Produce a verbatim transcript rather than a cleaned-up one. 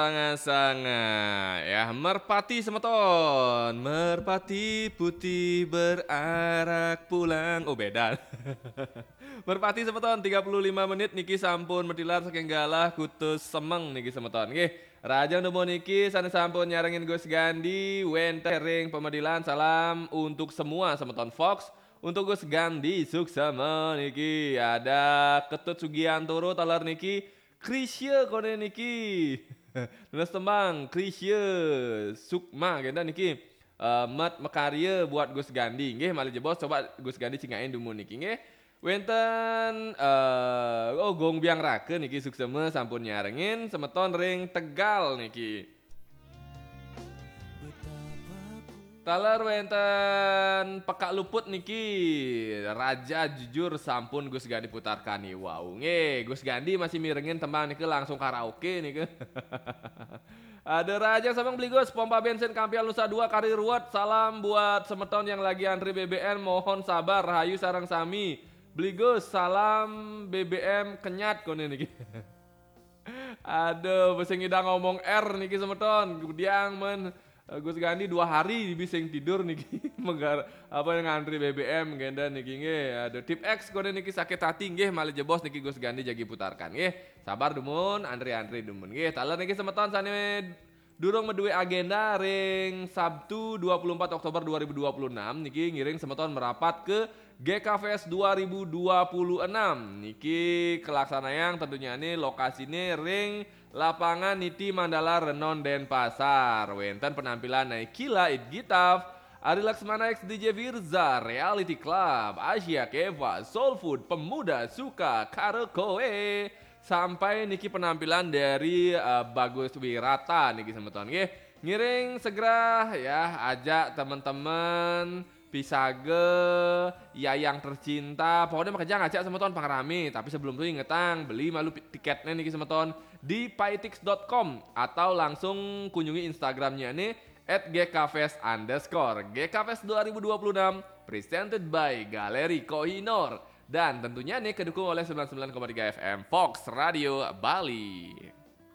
Sanga-sanga ya, merpati semeton, merpati putih berarak pulang. Oh, beda. Merpati semeton, tiga puluh lima menit niki sampun metilar saking galah kutus semeng niki semeton. Nggih, rajang dumun niki sane sampun nyarengin Gus Gandi wenten ring pemedilan. Salam untuk semua semeton Fox. Untuk Gus Gandi Suksema niki, ada Ketut Sugiantoro taler niki, Krisye kone niki. Nunas tembang Krisye Sukma kenten niki. Eh, met makarya buat Gus Gandi. Nggih, malih jebos coba Gus Gandi cingakin dumun niki nggih. Wenten eh, oh, Gong Biang Raka niki suksema sampun nyarengin semeton ring Tegal niki. Taler wenten Pekak Luput niki, Raja Jujur sampun Gus Gandi putarkan nih. Wow, nggih, Gus Gandi masih mirengin tembang niki langsung karaoke niki. Ada Raja Sabang Beli Gus, pompa bensin Kampial Nusa Dua kari ruwet. Salam buat semeton yang lagi antri B B M, mohon sabar, rahayu sareng sami. Beli Gus, salam B B M kenyat kone niki. Aduh, bisa ngidang ngomong R niki semeton. Kemudian men eh, Gus Gandi dua hari bisa tidur niki. Megar apa yang ngantri B B M kenten niki nggih. Aduh, Tip X kone niki sakit hati nggih, malih jebos niki Gus Gandi jagi putarkan nggih. Sabar dumun, antri-antri dumun nggih. Taler niki semeton sane durung meduwe agenda ring Sabtu dua puluh empat Oktober dua ribu dua puluh enam niki ngiring semeton merapat ke G K Fest dua ribu dua puluh enam. Niki kelaksanayang tentunya nih lokasine ring Lapangan Niti Mandala Renon Denpasar. Wenten penampilan Naikila It Gitaf, Ari Laksmana X D J Firza, Reality Club, Asia Keva, Soul Food, Pemuda Suka Karaoke, sampai niki penampilan dari eh, Bagus Wirata niki semeton nggih. Ngiring segera ya, ajak teman-teman Pisage, Yayang Tercinta, pokoknya makejang ajak semeton pangrame. Tapi sebelum itu ingetang, beli malu pi- tiketnya niki semeton di paitix dot com atau langsung kunjungi Instagramnya nih at G K Fest underscore. G K Fest dua ribu dua puluh enam presented by Galeri Kohinoor. Dan tentunya nih kedukung oleh sembilan sembilan koma tiga F M Fox Radio Bali.